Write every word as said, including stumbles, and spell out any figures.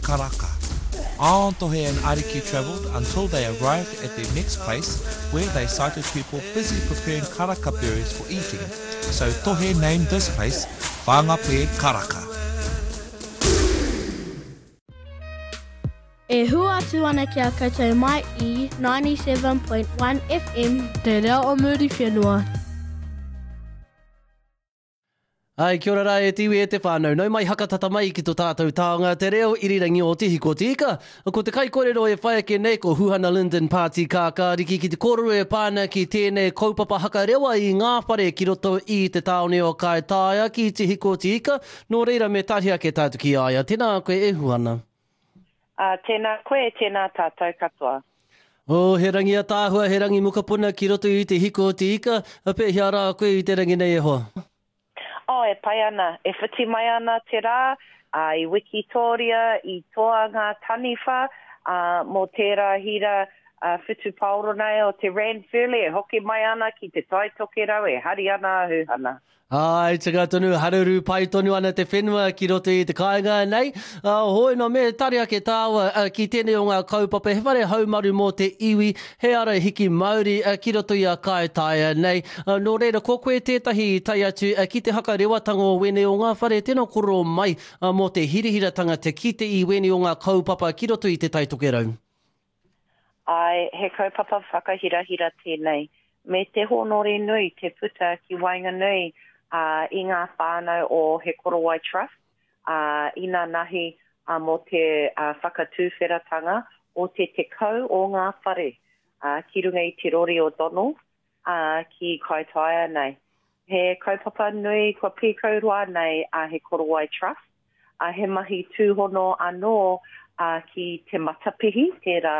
Karaka. On Tohe and Ariki travelled until they arrived at their next place where they sighted people busy preparing karaka berries for eating. So Tohe named this place Whangape Karaka. E hua atu ana ki a koutou mai i ninety-seven point one F M Te Reo o Muriwhenua. Ai, kia ora rā e te iwi e te whānau. Nau mai hakatata mai ki tō tātou taonga te reo irirangi o Te Hiko Te Ika. Ko te kaikorero e whai ake nei ko Huhana Lyndon Pāti Kākāriki ki te kōrero e pā ana ki tēnei kaupapa hakarewa i ngā whare ki roto i te tāone o Kaitaia ki Te Hiko Te Ika. Nō reira me tahi ake tātou ki a ia. Tēnā koe e Huhana. Uh, tēnā koe, tēnā tātou katoa. Oh, he rangi ataahua, he rangi mokopuna ki roto i Te Hiko Te Ika. A pēhea rā koe i te rangi nei e hoa? Oh, e pai ana, e whiti mai ana te rā, uh, i Wikitoria, i toa ngā taniwha, uh, mō tērā hira uh, whutupaoro nei o te Ranfurly, e hoki mai ana ki te Tai Tokerau, e hari ana a Huhana. Ai, tika tonu, haruru pai tonu ana te whenua ki roto i te kāinga nei. Uh, hoi no me tari ake tāua uh, ki tēnei o ngā kaupapa, he whare haumaru mō te iwi, he ara hiki mauri uh, ki roto i a Kaitaia nei. Uh, nō reira, ko koe tētahi i tae atu uh, ki te hakarewatanga o wēnei o ngā whare, tēnā koro mai uh, mō te hirihiratanga te kite i wēnei o ngā kaupapa ki roto i te Tai Tokerau. Ai, he kaupapa whakahirahira tēnei. Me te hōnore nui te puta ki waenganui uh, i ngā whānau o He Korowai Trust, uh, ina nahi uh, mō te uh, whakatūwheratanga o te tekau o ngā whare uh, ki runga i te rori o Donald uh, ki Kaitaia nei. He kaupapa nui kua pīkau roa nei a uh, He Korowai Trust, uh, he mahi tūhono anō uh, ki te Matapihi, tērā